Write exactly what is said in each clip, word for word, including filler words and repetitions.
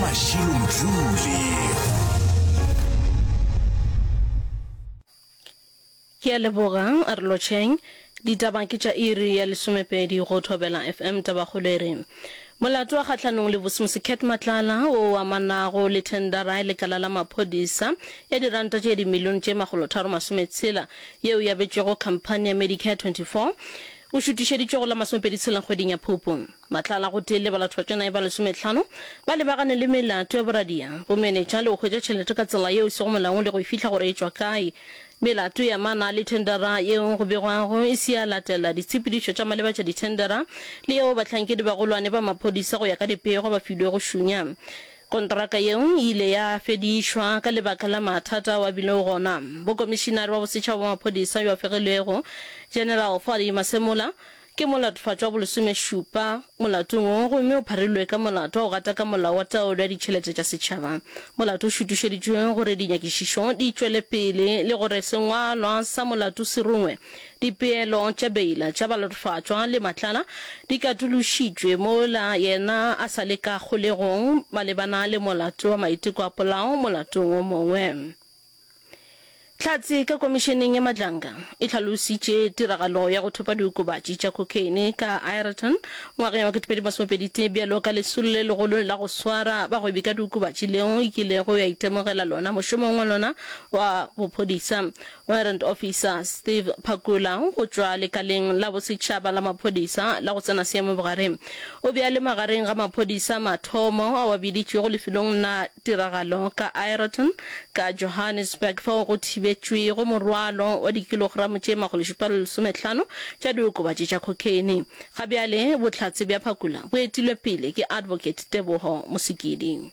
Mashilo Mdluli. Ke a leboga, a re lotšheng. Ditaba ke tša iri ya lesomepedi go Thobela F M. Tabakgolo e re, Molato wa kgahlanong le Vusimusi Cat Matlala wo o amanago le thendara ya lekala la maphodisa ya diranta tše dimilione tše makgolotharo masometshela yeo e abetšwego khamphani ya Medicare twenty-four o šutišeditšwe go la masomepedi tshela kgweding ya Phupu. Matlala gotee le balathobatšanae ba lesomehlano ba lebagane le melato ya boradia, bomenetša le go hwetša tšhelete ka tsela yeo e sego molaong le go e fihla gore e tšwa kae. Melato e amana le thendara yeo go begwago e se ya latela ditshepedišo tša maleba tša dithendara le yeo bahlankedi bagolwane ba maphodisa go ya ka dipego ba filwego šunya. Kontraka yeo e ile ya fedišwa ka lebaka la mathata ao a bilego gona. Bokomišinare wa Bosetšhaba wa Maphodisa yo a fegilwego, General Fadi Masemola, ke molatofatšwa wa bolesomešupa molatong wo gomme o pharilwe ka molato wa go gataka molao wa taolo ya ditšhelete tša setšhaba. Molato o šutišeditšwe gore dinyakišišo di tšwele pele le gore sengwalwa sa molato se rungwe. Dipeelo tša beila tša balatofatšwa le Matlala di katološitšwe mola yena a sa le ka kgolegong malebana le molato wa maiteko a polao molatong o mongwe. Hlatse ka Komišeneng ya Madlanga e hlalositše tiragalo ya go thopa diokobatši tša khokheine ka Aeroton ngwageng wa ketepedi masomepedi tee bjalo ka lesolo le legolo la go swara bagwebi ka diokobatši leo e kilego ya itemogela lona mošomong wa lona wa bophodisa. Warrant Officer Steve Phakula go tšwa lekaleng la bosetšhaba la maphodisa la go tsena seemo bogare o be a le magareng ga maphodisa a mathomo ao a biditšwego lefelong la tiragalo ka Aeroton ka Johannesburg fao go thibetšwego morwalo wa dikilogramo tše makgolo šupa le lesomehlano tša diokobatši tša khokheine. Ga bjale bohlatse bja Phakula bo etilwe pele ke Advocate Teboho Mosikidi.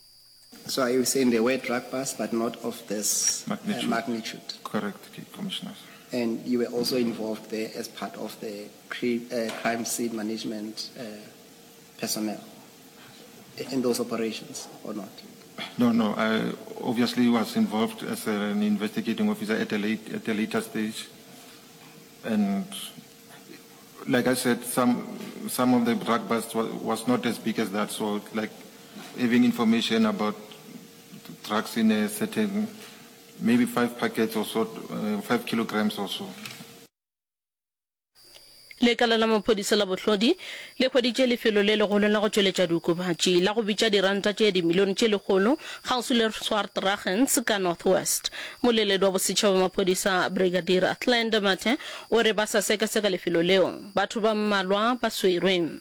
So are you saying there were drug busts but not of this magnitude? Uh, magnitude? Correct, Commissioners. And you were also involved there as part of the cre- uh, crime scene management uh, personnel in those operations or not? No, no. I obviously was involved as an investigating officer at a late, at a later stage. And like I said, some, some of the drug busts was, was not as big as that. So like having information about drugs in a certain, maybe five packets or so, uh, five kilograms or so. Lekala la maphodisa la bohlodi le hweditše lefelo le legolo la go tšweletša diokobatši la go bitša diranta tše dimilione tše lekgolo kgauswi le Swartruggens ka North West. Moleledi wa bosetšhaba wa maphodisa Brigadier Athlenda Mathe o re ba sa sekaseka lefelo leo. Batho ba mmalwa ba swerwe.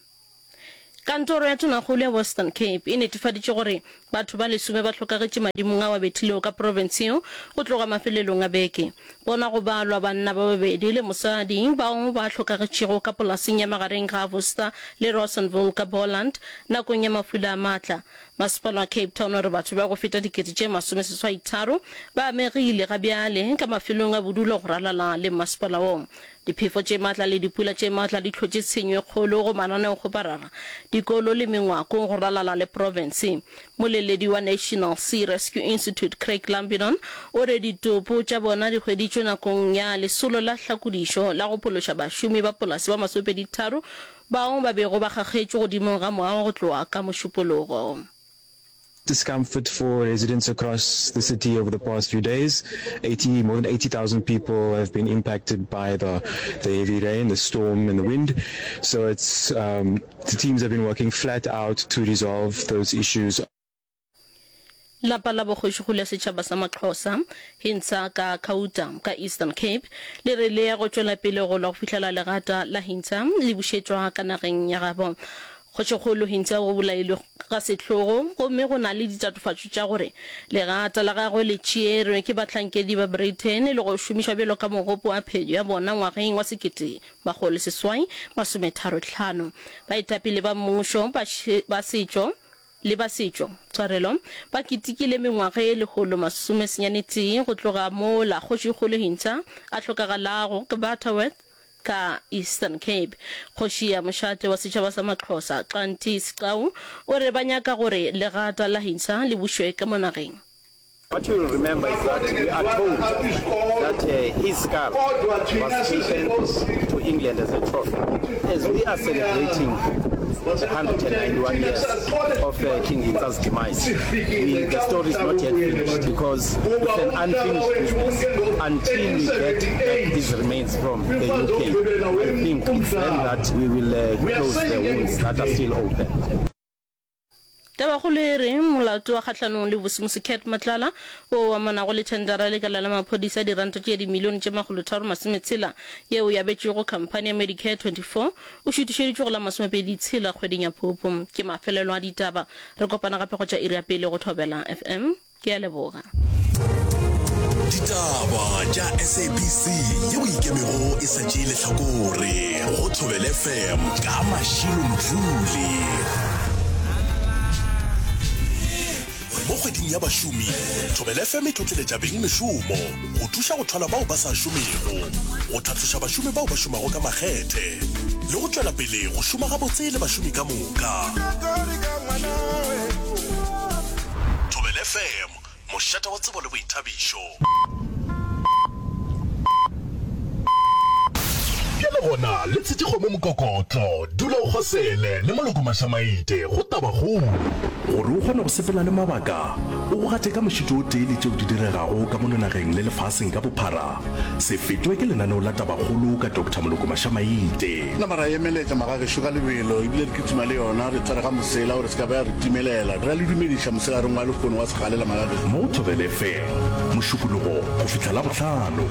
Kantoro ya Tonakgolo ya Western Cape e netefaditše gore batho ba lesome ba hlokagetše madimong ao a bethilego ka profense yeo go tloga mafelelong a beke. Bona go balwa banna ba babedi le mosadi bao ba hlokagetšego ka polaseng ya magareng ga Worcester le Rawsonville ka Boland nakong ya mafula a maatla. Masepala wa Cape Town o re batho ba go feta dikete tše masomeseswai tharo ba amegile ga bjale ka mafelong a bodulo go ralala le masepala wo. Diphefo tše matla le dipula tše matla di hlotše tshenyo e kgolo go mananeokgoparara, dikolo le mengwako go ralala le profense. Moleledi wa National Sea Rescue Institute Craig Lambinon o re ditopo tša bona di hweditšwe nakong ya lesolo la hlakodišo la go phološa bašomi ba polase ba masomepedi tharo bao ba bego ba kgakgetšwe godimong ga moago go tloga ka Mošupologo. Discomfort for residents across the city over the past few days. eighty, more than eighty thousand people have been impacted by the, the heavy rain, the storm and the wind. So it's, um, the teams have been working flat out to resolve those issues. Lapa la bogošigolo ya setšhaba sa Maxhosa, Hintsa ka Khauta ka Eastern Cape, le re le ya go tšwela pele go lwa go fihlela legata la Hintsa le bušetšwa ka nageng ya gabo. Kgošikgolo Hintsa o bolailwe ga sehlogo gomme go na le ditatofatšo tša gore legata la gagwe le tšeerwe ke bahlankedi ba Britain le go šomišwa bjalo ka mogopo wa phenyo ya bona ngwageng wa sekete makgolo seswai masometharo hlano. Baetapele ba mmušo ba setšo le ba setšo, tshwarelo, ba ketekile mengwaga ye lekgolo masome senyane tee go tloga mola Kgošikgolo Hintsa a hlokagalago ka Butterworth ka Eastern Cape. Kgoši ya mošate wa setšhaba sa Maxhosa, Xanti Sigcawu, o re ba nyaka gore legata la Hintsa le bušwe ka mo nageng. What you will remember is that we are told that uh, his skull was taken to England as a trophy. As we are celebrating one hundred ninety-one years of uh, King Hintsa's demise. We, the story is not yet finished because it's an unfinished business until we get back his remains from the U K. I think it's then that we will uh, close the wounds that are still open. Tabakgolo e re molato wa kgahlanong le Vusimusi Cat Matlala wo o amanago le thendara ya lekala la maphodisa ya diranta tše dimilione tše makgolotharo masometshela yeo e abetšwego khamphani ya Medicare twenty four o šutišeditšwe go la masomepedi tshela kgweding ya Phupu. Ke mafelelo a ditaba. Re kopana gape go tša iri ya pele go Thobela F M. Ke a leboga. Ditaba tša S A B C yeo ikemego e sa tšee lehlakore go Thobela F M ka Mashilo Mdluli. Mo kgweding ya bašomi, Thobela F M e tlotleletša beng mešomo go thuša go thwala bao ba sa šomego, go tlhatloša bašomi bao ba šomago ka makgethe le go tšwela pele go šoma gabotse le bašomi ka moka. Thobela F M, mošate wa tsebo le boithabišo. Bjale gona le tshetše kgomo mokokotlo, dula o kgosele le Moloko Mašamaite go Tabakgolo. Gore o kgone go sepela le mabaka, o go gate ka mošito o tee le tšeo di diregago ka mono nageng le lefaseng ka bophara, se fetwe ke lenaneo la Tabakgolo ka Doctor Moloko Mašamaite. Nama ra emeletša magagešo ka lebelo ebile re kitima le yona re tshware ga mosela gore se ka ba ya re timelela. Re a le dumediša mosegareng wa lehono wa segalela magagešo. Mo Thobela F M, Mošupologo go fihla Labohlano.